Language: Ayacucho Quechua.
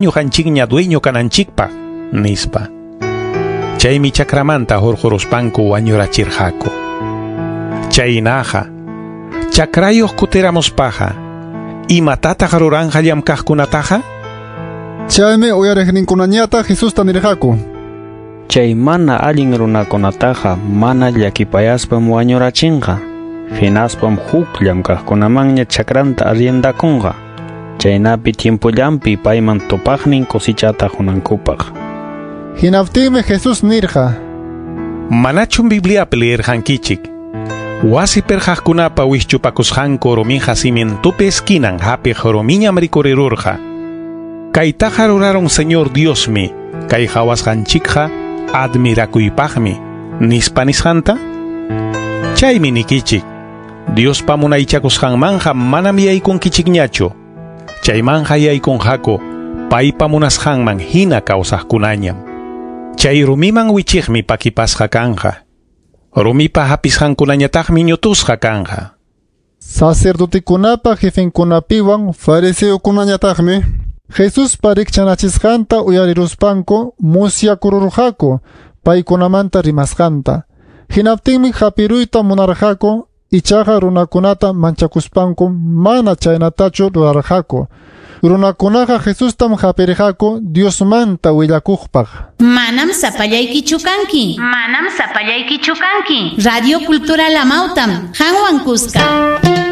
Ñuqanchikña dueño kananchikpaq, nispa. Chaymi chakramanta hurquruspanku wañurachirqaku. Chaynaqa, chakrayuq kutiramuspaqa, imatataq ruranqa llamkaqkunataqa? Chaymi uyariqninkunañataq Jesusta nirqaku: Chay mana allin runakunataqa mana llakipayaspam wañurachinqa. Hinaspam huk llamkaqkunamanña chakranta arriendakunqa. Chaynapi tiempollanpi payman tupaqnin cosechata qunankupaq. Hinaptinmi Jesús nirqa: Manachum Bibliapi leerqankichik? Wasi perqaqkunapa wischupakusqanku rumiqa cimientopi esquinan hapiq rumiñam rikurirurqa. Kaytaqa rurarun Señor Diosmi, kay qawasqanchikqa admirakuypaqmi, nispa nisqanta? Chaymi nikichik, Diospa munaychakusqanmanqa manam yaykunkichikñachu. Chaymanqa yaykunqaku paypa munasqanman hina kawsaqkunañam. Chay rumiman wichiqmi pakipasqa kanqa. Rumipa hapisqankunañataqmi ñutusqa kanqa. Sacerdotekunapa jefenkunapiwan fariseokunañataqmi Jesuspa rikchanachisqanta uyariruspanku musyakururqaku paykunamanta rimasqanta. Hinaptinmi hapiruyta munarqaku, ichaqa runakunata manchakuspanku mana chaynatachu rurarqaku. Runakunaqa Jesustam hapirqaku Diosmanta willakuqpaq. Manam sapallaykichu kanki. Manam sapallaykichu kanki. Radio Cultural Amautam, qanwan kuska.